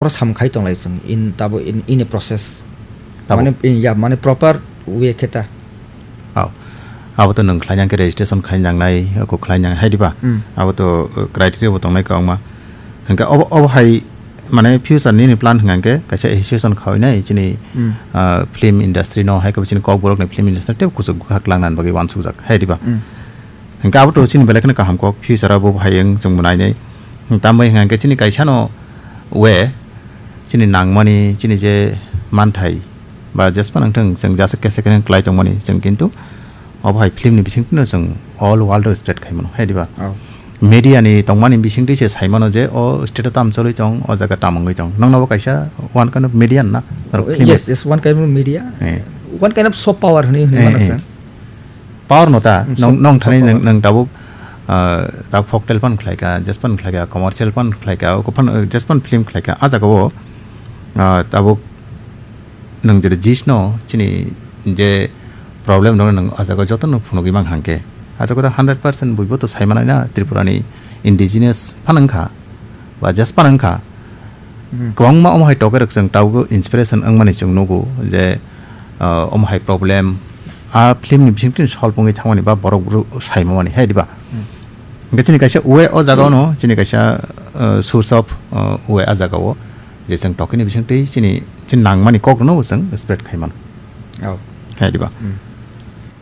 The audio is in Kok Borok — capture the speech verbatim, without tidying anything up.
Oro sam khai tonglai chwng in tabo in, in a process. Tabo. Mane in, ya, mane proper way khe ta. Aw. Abo to nwng khlai nang khe registration khai nang nai, ko khlai nang hai diba? Hmm. Abo to, uh, criteria bo tongnai kwbangma. Hingke obo, obo hai mane future nini plan hingke kaisa association khawi nai chini, Hmm. uh, film industry no hai ko chini kokborok ni film industry te kuchuk khak lang nan bagwi wansuk jak hai diba? Hmm. Hingke abo to chini belai kheno kaham kok, future abo bo hai wng chwng bo nainai. Tambai hingke chini kaisa no we chini nangmani, chini je manthai ba jespa nangthang chwng jasa kesa kesa klai tongmani chwng kintu obo hai film ni bising tino chwng all world o spread khai mano, hai diba? Oh. Media ni tongmani bising twi se sai mano je o state o tam choli tong, o jaga tam wngwi tong. Nokno bo kaisa one kind of media na, norok film Yes, yes, one kind of media. Eh. One kind of soft power hwnwi hwnwi Eh, mano eh. se. Power no ta, Hmm, nong, soft, nong soft thani power. Nang, nang tabuk, ah, tabuk folktale pan khlai ka, jazz pan khlai ka, commercial pan khlai ka, oko pan, eh, jazz pan film khlai ka. A jaga o, ah, tabuk nang jere jis no, chini je problem no nang a jaga o joto no phunugwi mang hangke. A jaga o hundred percent buibo to sai manai na Tripura ni indigenous pan wngkha, ba jazz pan wngkha. Hmm. Kwbangma omo hai toke rok chwng tabuk inspiration wngmani chwng nugo je, ah, omo hai problem a film ni bising twi solve wngwi thangmani ba borok bru sai mamani hai diba? Hmm. Hingke chini kaisa uwe o jaga no, chini kaisa, ah, source of, ah, uwe a jaga o je chwng toke ni bising twi chini, chini nangmani kok no chwng spread khai mano. Oh. Hai diba? Hmm.